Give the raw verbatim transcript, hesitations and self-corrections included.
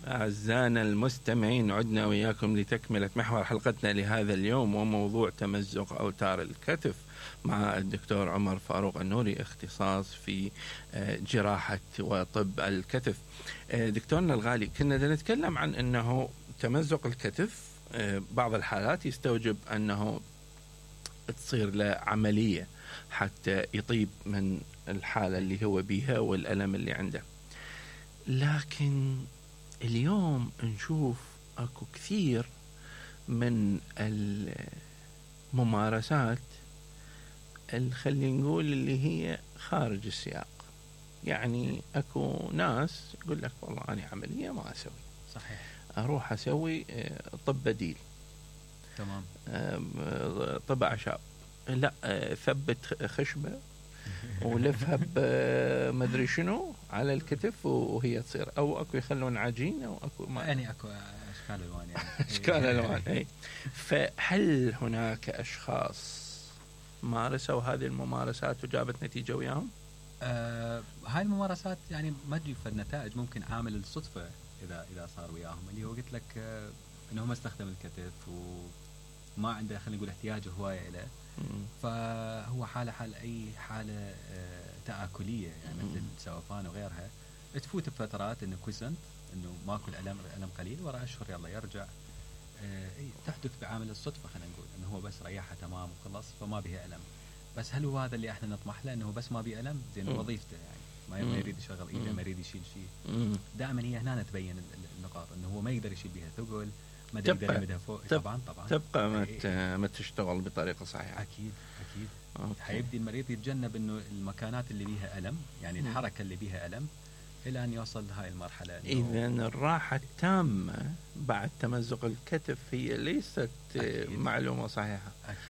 أعزائنا المستمعين، عدنا وياكم لتكملة محور حلقتنا لهذا اليوم وموضوع تمزق أوتار الكتف مع الدكتور عمر فاروق النوري، اختصاص في جراحة وطب الكتف. دكتورنا الغالي، كنا نتكلم عن أنه تمزق الكتف بعض الحالات يستوجب أنه تصير له عملية حتى يطيب من الحالة اللي هو بيها والألم اللي عنده، لكن اليوم نشوف اكو كثير من الممارسات اللي خلينا نقول اللي هي خارج السياق. يعني اكو ناس يقول لك والله انا عملية ما اسوي، صحيح، اروح اسوي طب بديل، تمام، طب اعشاب، لا ثبت خشبة ولفها بمدري شنو على الكتف وهي تصير، او اكو يخلون عجين، او اكو ما يعني اكو اشكال الوان يعني اشكال الوان اي. فهل هناك اشخاص مارسوا هذه الممارسات وجابت نتيجه وياهم؟ آه هاي الممارسات يعني ما تجيب النتائج، ممكن عامل الصدفه اذا اذا صار وياهم، اللي هو قلت لك آه انه ما استخدم الكتف وما عنده خلينا نقول احتياج هوايه له، فهو حاله حال اي حاله آه تآكليه، يعني مثل السوفان وغيرها، تفوت بفترات انه كويسنت، انه ماكو الالم، الالم قليل، ورا اشهر يلا يرجع. آه تحدث بعامل الصدفه، خلينا نقول انه هو بس ريحها تمام وخلص فما بها الم. بس هل هو هذا اللي احنا نطمح له، انه بس ما بيه الم؟ زين وظيفته يعني ما يريد يشغل ايده، ما يريد يشيل شيء. دائما هي هنا تبين النقاط، انه هو ما يقدر يشيل بها ثقل، ما يقدر يمدها فوق. طبعا طبعا تبقى ما ما تشتغل بطريقه صحيحه. اكيد اكيد. حيبدي المريض يتجنب انه المكانات اللي بيها الم، يعني الحركه اللي بيها الم، الى ان يوصل لهاي المرحله. اذا الراحه التامه بعد تمزق الكتف هي ليست أكيد. معلومه صحيحه. أكيد.